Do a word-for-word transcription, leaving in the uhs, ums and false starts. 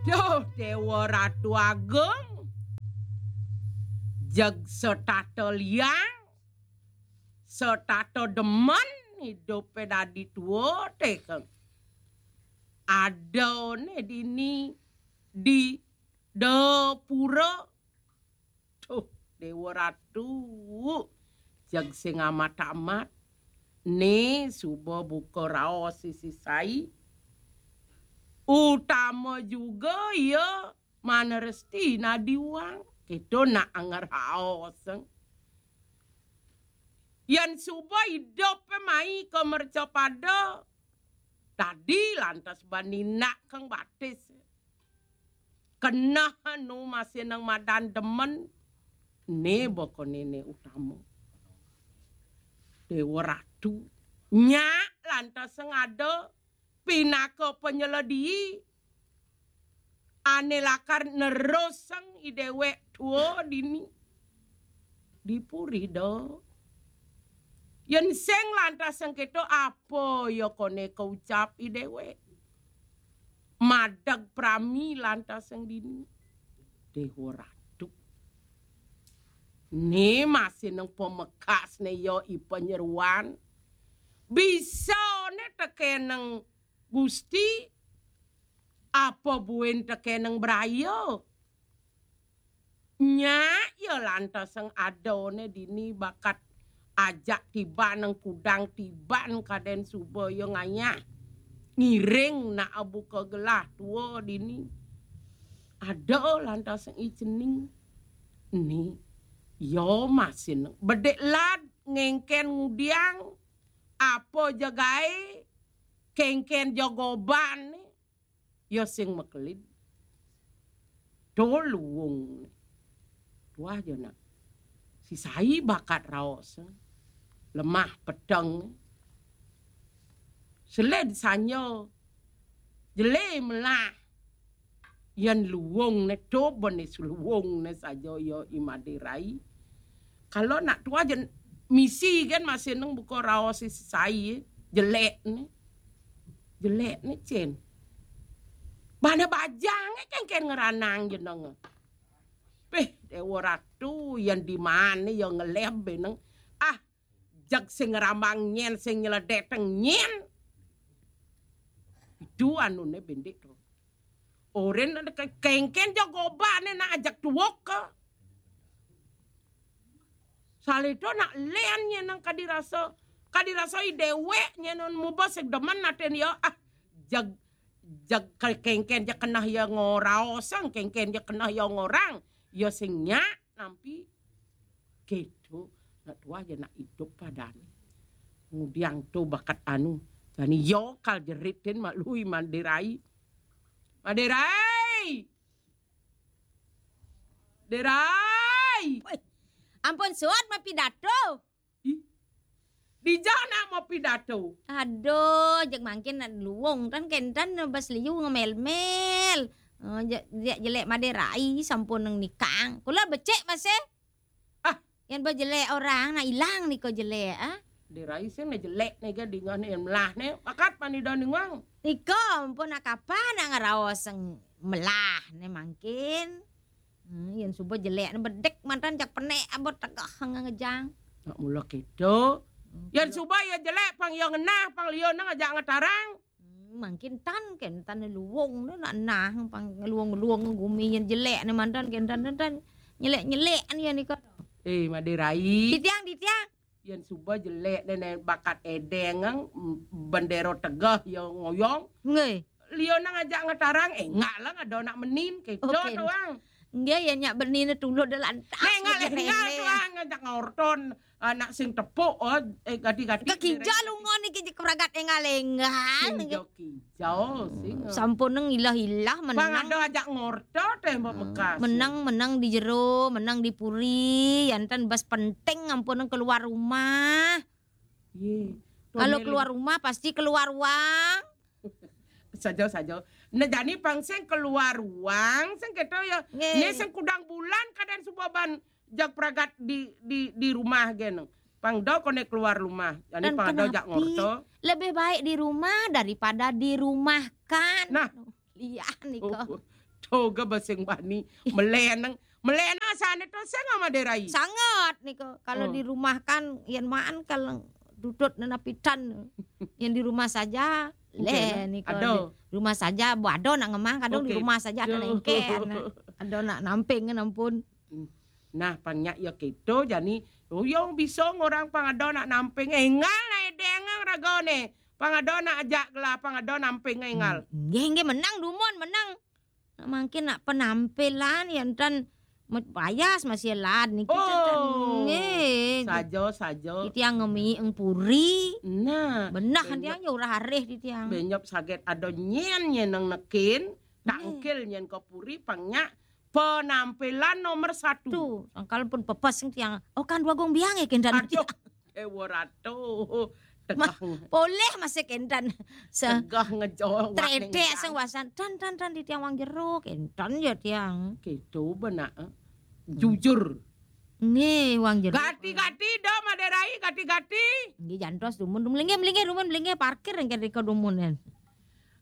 Duh, Déwa Ratu Agung, jeg setata liang, setata demen idupe dadi tua, tekeng. Adané dini di dapura. Duh, Déwa Ratu, jeg sing amat-amat. Né suba buka raos sisi sai. Utama juga ya maneresti nadiwang. Kéto nak ngeraos. Yén suba idup mai ka mercapada, dadi lantas bani nak kang batis. Keneh nu masih nang madan demen, né baka néné utama. Déwa Ratu, nyak lantas sing ada pinaka panyeledi, ané lakar nerusang i déwék tua dini. Di puri da. Yén sing lantas sing kéto, apa ya koné kaucap i déwék? Madeg prami lantas sing dini. Déwa Ratu. Né masih nang pamekasné ya i panyeruan. Bisané tekéneng Gusti, apa buin tekéneng braya? Nyak ya lantas sing adané dini bakat ajak tiban nang kudang tiban kadén suba ya ngayah. Ngiring nak buka gelah tua dini. Ada lantas sing i cening. Ni, ya masih nang. Bedik lad ngéngkén ngudiang, apa ja gaé, kéngkén ja goban, ya sing makelid. To luung. Tuah ja nak. Si sai bakat raos. Lemah peteng. Seled sanya. Jelé melah. Yén luung né to bene luung né saja ya i Madé Rai. Kalau nak tuah ja misi kan masih nang buka raos si sai, jelék né. Jelék né cén. Bana bajang kan kén ngeranang jeneng. Péh, Déwa Ratu, yén di mana ya ngeleb beneng. Ah, jeg sing ngerambang nyén, sing nyeledek teng nyén. Itu anuné bendik to. Orin ada ke-, kéngkén ja gobané nak ajak tuwuk ke. Saledo nak lén nyén nang kadi rasa, kadi rasa i déwék nyén nun muba sing demen atin ya. Ah, jeg, jeg ke-, kéngkén ja keneh ya ngoraosang, kéngkén ja keneh ya ngorang. Ya sing nyak nampi. Kéto, nak tuah ja nak idup padané. Ngudiang to bakat anu. Jani ya kal jeritin mak lui Madé Rai. Madé Rai! Madé Rai! Woi, ampun suud mapidato. Ih, dija nak mapidato. Aduh, jeg mangkin nak luung tan kéntan bas liu ngemel-mel. Eh, je-, je-, jelék Madé Rai sampun nang nikang. Kula becik masih. Ah. Yén ba jelék orang, nah ilang nika jelék, ah. Madé Rai sing né jelék né ga dingeh né melah né. Bakat panida ningang. Nika ampun nak kapan nak ngeraos sing melah né mangkin. Hmm, yén suba jelék né bedik mantan jak penek abot tegeh ngejang. Nak mula kéto. Hmm, yén suba ya jelék pang ya ngenah, pang liu nang ajak ngetarang. Hmm, mangkin tan kén tan luung né nak nah pang luung-luung gumi yén jelék né mantan kén tan tan nyelék-nyelék ya nika. Eh, Madé Rai. Titiang, titiang. Yén suba jelék né, né bakat édéng, mm, bendéro tegeh ya ngoyong. Nggih. Liu nang ajak ngetarang, eh, ngak lah ada nak menin, kéto. Oké. Doang. Nggih, ya nyak benin tulud lantas. Né, ngak lenggal tuang, ajak ngorton, anak sing tepuk, oh, eh, gadi-gadi. Kekija lunga niki je keragat enggal-enggal. Kija-kija, sing. Sampun nang ilah-ilah. Bang menang. Ada ajak ngorto téh, Mbok Mekas. Menang, menang di jero, menang di puri, yantan bas penting ampun nang keluar rumah. Yé. Kalau keluar rumah pasti keluar uang. Saja, saja. Nah, jani pang sing keluar uang, sing kéto ya. Nggih. Né sing kudang bulan kadén suba ban jag pragat di, di, di rumah gén. Pang do koné keluar rumah. Jani pang do jak ngorto. Lebih baik di rumah daripada dirumahkan. Nah. Liah nika. Oh, Toga baseng bani. Meleneng. Meleneng asane to sing Madé Rai. Sanget nika. Kalau Oh. Di rumah kan yen maan kalau tutut nena pidan. Yang di rumah saja. Leh nika. Ada. Di rumah saja, bu ada nak ngemah, kadang di Oke. rumah saja ada Duh. nengken. Ada nak namping ampun. Nah, pang nyak ya keto jani. Oh, yo bisa ngorang pang ada nak namping. Engal nak edeng ragane. Pang ada nak ajak gelah, pang ada namping engal. Nggih, nggih, menang dumun, menang. Nak mangkin nak penampilan ya enten met-, payas masih lad niki. Oh. Nggih. Saja, saja. Titiang ngemi eng puri. Nah, Benah benyop- tiang ya urah arih titiang. Benyop saget ada nyen nyen nang nekin, tangkil nyen ke puri pang nyak penampilan nomor satu. Tuh, angkal pun pepes tiang. Oh, kan dua gong biang ya kendan. Aduh, ewa ratu. Tegah, Poleh masih kendan. Se tegah ngejol. Tredek sing wasan dan dan dan di tiang wang jero kendan ya tiang. Gitu benak. Eh. Jujur. Nggih, wang jero. Gati-gati dah Madé Rai, gati-gati. Nggih, jantos dumun, dumun linggih, linggih, dumun linggih, parkir yang kira dumun kan.